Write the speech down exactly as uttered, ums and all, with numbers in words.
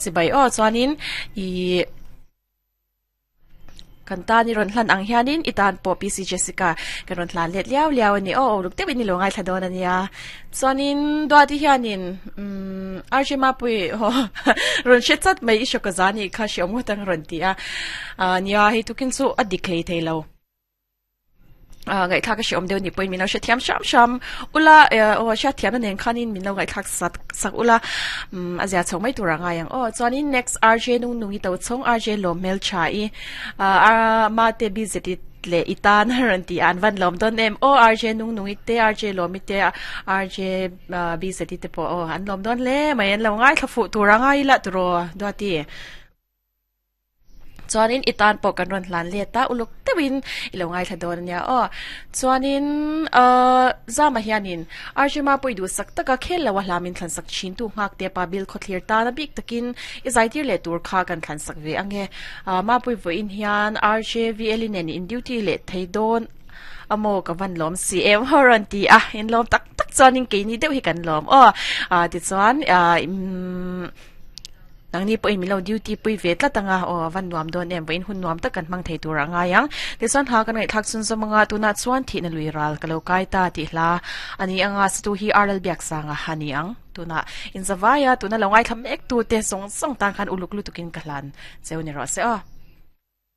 Chibai o. Chuanin i kan ta ni ron hlan ang hianin itan po P C Jessica kan ron hlan let liao liao ani o luk te ni lo ngai thladon ania. Chuanin duati hianin um R J Mapui ho ron chat mai i shokazani kha shi omu tang ron ti a nia hi tukin chu a diklei theilo ngai thak shi om deu ni point min lo thiam sham sham ula o sha thiam na nen khanin min lo ngai thak sak sak ula azia chong mai tura nga yang o. Chuanin next R J nung nungi to chong R J lo mel cha i a ma te B Z le itan ran ti an van lom don em o R J nung nungi te R J lo mi te R J B Z te po o an lom don le mai an lo ngai thafu tura ngai la tro do ti. Chuanin itan po kan ron hlan le ta uluk tewin ilo ngai thladon ania o. Chuanin uh zama hianin R J Mapui du sak taka khel lawa hlamin thlan sak chin tu ngak te pa bil khothlir ta na bik takin i zaitir le tur kha kan thlan sak ve ange Mapui vo in hian R J V L in in duty le theidon amo ka van lom si em horon ti a in lom tak tak chuanin ke ni deuh hi kan lom o. A ti chuan a nang ni po in milo duty pui ve tla tanga o van nuam don em in hun nuam tak kan mang thei tur anga yang ti chuan ha kan ngai thak chun zamanga tuna chuan thi na lui ral kalo kai ta ti hla ani anga stu hi R L biak sanga hani ang tuna in zawaya tuna longai tham ek tu te song song tang khan uluk lu tukin kahlan cheu ni ro se o.